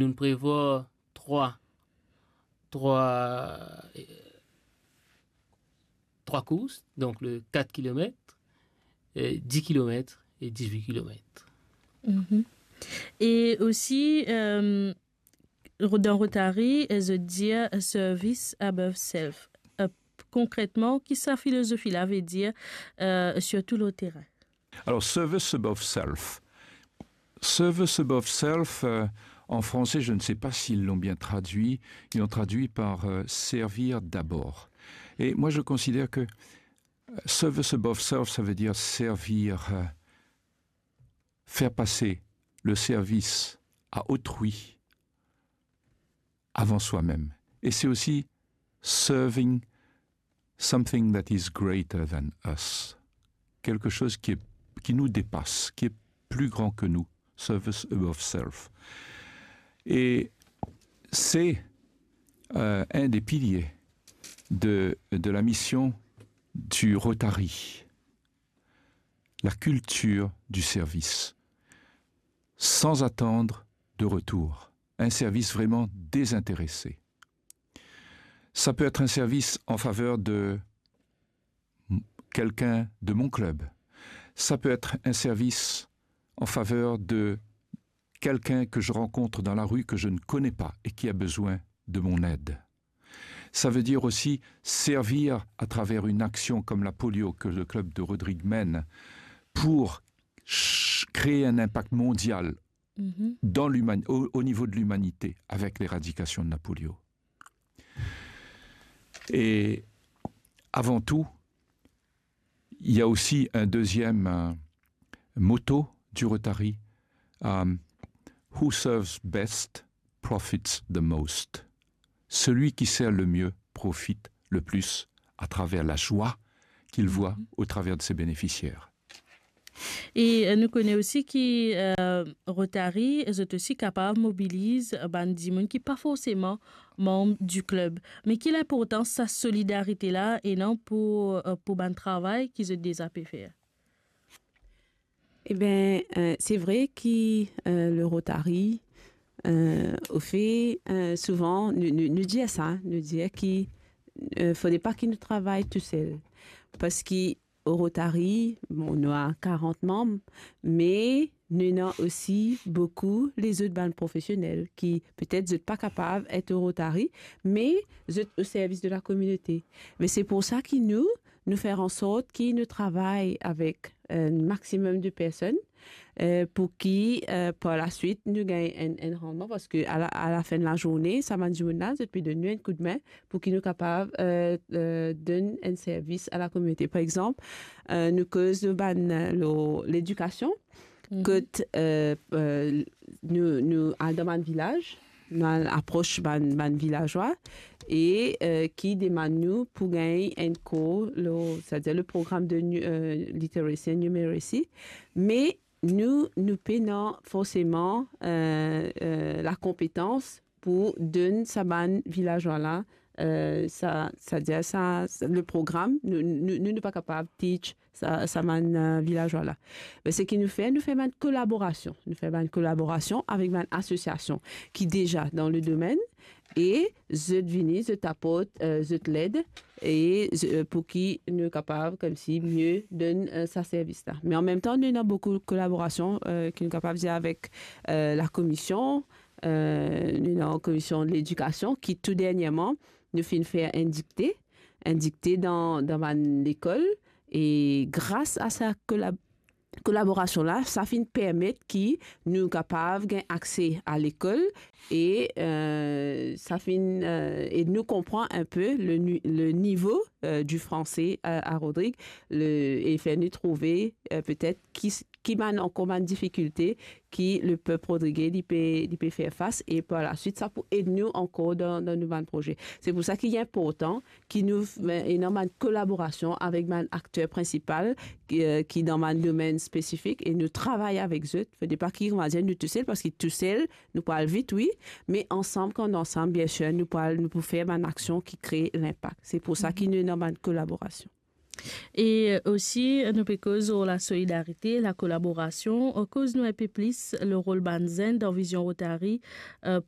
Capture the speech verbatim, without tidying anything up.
Nous prévoyons trois, trois, euh, trois courses, donc le quatre kilomètres, euh, dix kilomètres et dix-huit kilomètres. Mhm. E osi, euh, dan Rotary, euh, zot dir, euh, service above self. Euh, konkretman, ki sa filozofi la ve dir, euh, sirtou lor terin? Alors, service above self. Service above self, euh, en français, je ne sais pas s'ils l'ont bien traduit, ils l'ont traduit par, euh, servir d'abord. Et moi, je considère que, euh, service above self, ça veut dire servir, euh, faire passer le service à autrui avant soi-même. Et c'est aussi serving something that is greater than us. Quelque chose qui est, qui nous dépasse, qui est plus grand que nous. Service above self. Et c'est, euh, un des piliers de, de la mission du Rotary, la culture du service, sans attendre de retour. Un service vraiment désintéressé. Ça peut être un service en faveur de m-, quelqu'un de mon club. Ça peut être un service en faveur de quelqu'un que je rencontre dans la rue que je ne connais pas et qui a besoin de mon aide. Ça veut dire aussi servir à travers une action comme la polio que le club de Rodrigues mène pour ch-, créer un impact mondial, mhm, dans l'human-, au, au niveau de l'humanité avec l'éradication de la polio. Et avant tout, il y a aussi un deuxième, euh, motto du Rotary, euh, Who serves best profits the most. Celui qui sert le mieux profite le plus à travers la joie qu'il voit, mhm, au travers de ses bénéficiaires. E, euh, nou kone osi ki, euh, Rotary, zot osi kapav mobiliz bann dimoun ki pa forseman manm di klub. Me ki linportans sa solidarite la ena pou, euh, pou bann travay ki zot deza pe fer? Eben, euh, se vre ki, euh, le Rotary, euh, ofer, euh, souvan, nou, nou, nou dir sa, nou dir ki, euh, fode pa ki nou travay tousel. Parski o Rotary, bon, nou ena karant manm, me nou ena osi boukou lezot bann profesionel ki petet zot pa kapav et o Rotary, me zot o servis de la kominote. Me se pou sa ki nou, nou fer ansort ki nou travay avek, euh, maximum de personn, euh, pou ki, euh, par la swit, nou gagn enn, enn randman, parski a la, a la fin de la zourne, sa bann dimoun la, zot pe donn nou enn koudme pou ki nou kapav, euh, euh, donn enn servis a la kominote. Par exanp, euh, nou koz bann, euh, lor ledikasion, mhm, kot, euh, euh, nou, nou al dan bann vilaz, nou al apros bann, bann vilazwa, e, euh, ki demann nou pou gagn enn kour lor, setadir le program de nu-, euh, literacy and numeracy. Me nou, nou pena forseman, euh, euh, lakonpetans pou donn sa bann vilazwa la, euh, sa, setadir sa, sa, le program, nou, nou, nou, nou pa kapav teach sa, sa bann, euh, vilazwa la. Me seki nou fer, nou fer bann kolaborasion. Nou fer bann kolaborasion avek bann asosiasion ki deza dan le domenn e zot vini, zot aport, euh, zot led e, euh, pou ki nou kapav koumsi mie donn, euh, sa servis la. Me an mem tan, nou ena boukou kolaborasion, euh, ki nou kapav dir avek, euh, la komision, euh, nou ena komision ledikasion ki tou dernierman, nou finn fer enn dikte, enn dikte dan, dan bann lekol, e gras a sa kolab-, kolaborasion la, sa finn permet ki nou kapav gagn akse a lekol e, euh, sa finn, euh, ed nou konpran enpe le ni-, le nivo, euh, du français, euh, a Rodrig, le, e fer nou trouve, euh, petet ki s-, ki bann ankor bann difikilte ki lepep rodrige li pe, li pe fer fas, e par la swit, sa pou ed nou ankor dan, dan nou bann proze. Se pou sa ki inportan ki nou f-, ena bann kolaborasion avek bann akter prinsipal ki, euh, ki dan bann domenn spesifik e nou travay avek zot. Fode pa ki, on va dir, nou tousel, parski tousel, nou pou al vit, wi, me ansam, kan nou ansam, biensir, nou pou al, nou pou fer bann aksion ki kre linpak. Se pou sa ki nou ena bann kolaborasion. E osi, nou pe koz lor lasolidarite, lakolaborasion, koz nou inpe plis lor rol bann zenn dan Vizion Rotary, eh,